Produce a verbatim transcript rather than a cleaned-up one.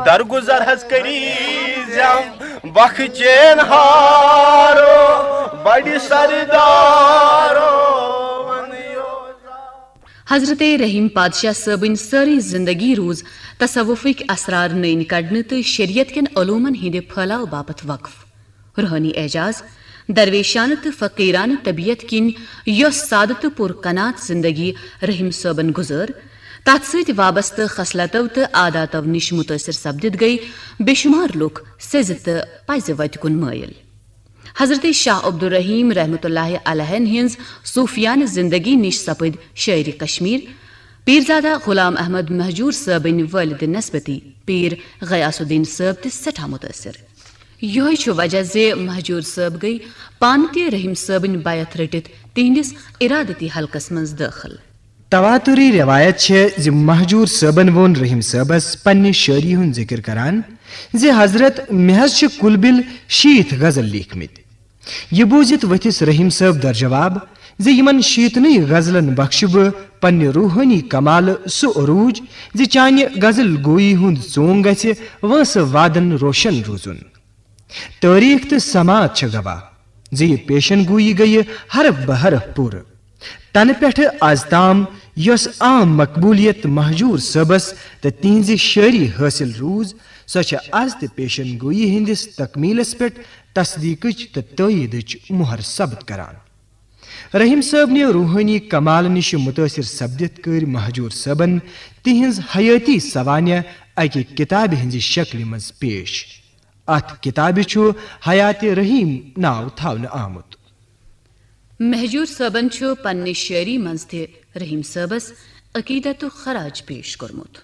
درگزر حظ کٔرِزٮ۪م بخچین ہارو، بڑِ سردارو۔ حضرت رحیم پادشاہ صٲبٕنۍ سٲرٕے زندگی روٗز تصوفٕکۍ اسرار نٔنۍ کڑنہٕ تہٕ شریعت کٮ۪ن علومن ہٕنٛدِ پھٲلاو باپتھ وقف۔ روحٲنی اعجاز، درویشانہٕ تہٕ فقیرانہٕ طبیعت کِنۍ یۄس سادٕ تہٕ پُر قناعت زندگی رحیم صٲبن گُزٲر، تتھ سۭتۍ وابستہٕ خصلتو تہٕ عاداتو نِش مُتٲثر سپدِتھ گٔیہِ بے شمار لُکھ سیٚزِ تہٕ پزِ وتہِ کُن مٲیِل۔ حضرت شاہ عبدالرحیم رحمتہ اللہ علیہن ہٕنٛز صوفیانہٕ زندگی نِش سپٕدۍ شٲعرِ کشمیر پیرزادہ غلام احمد مہجور صٲبٕنۍ والدِ نسبتی پیر غیاث الدین صٲب تہِ سٮ۪ٹھاہ مُتٲثر۔ یِہوٚے چھُ وجہ زِ مہجور صٲب گٔیہِ پانہٕ تہِ رحیم صٲبٕنۍ بیعت رٔٹِتھ تِہنٛدِس ارادتی حلقس منٛز دٲخل۔ تواتری روایت چھےٚ زِ مہجور صٲبن ووٚن رحیم صٲبس پننہِ شٲعری ہُنٛد ذکر کران زِ حضرت، مےٚ حظ چھِ کُل بِل شیٖتھ غزل لیٖکھمٕتۍ۔ یہِ بوٗزِتھ ؤتھِس رحیم صٲب در جواب زِ یِمن شیٖتنٕے غزلن بخشہِ بہٕ پننہِ روحٲنی کمالہٕ سُہ عروج زِ چانہِ غزل گویی ہُنٛد ژونگ گژھِ وٲنٛسہٕ وادن روشن روزُن۔ تٲریخ تہٕ سماعت چھےٚ گواہ زِ یہِ پیشن گویی گٔیہِ حرف بہ حرف پوٗرٕ۔ تنہٕ پٮ۪ٹھٕ از تام یۄس عام مقبولیت مہجور صٲبس تہٕ تِہنزِ شٲعری حٲصِل روٗز، سۄ چھےٚ از تہِ پیشن گویی ہٕنٛدِس تکمیلس پٮ۪ٹھ تصدیقٕچ تہٕ تٲییدٕچ مۄہر ثبت کران۔ رحیم صٲبنہِ روحٲنی کمال نِش مُتٲثر سپدِتھ کٔرۍ مہجور صٲبن تِہنٛز حیٲتی سوانح اکہِ کتابہِ ہٕنٛزِ شکلہِ منٛز پیش۔ اتھ کتابہِ چھُ حیات رحیم ناو تھاونہٕ آمُت۔ مہجور صٲبن چھُ پننہِ شٲعری منٛز تہِ رحیم صٲبس عقیدتُک خراج پیش کوٚرمُت۔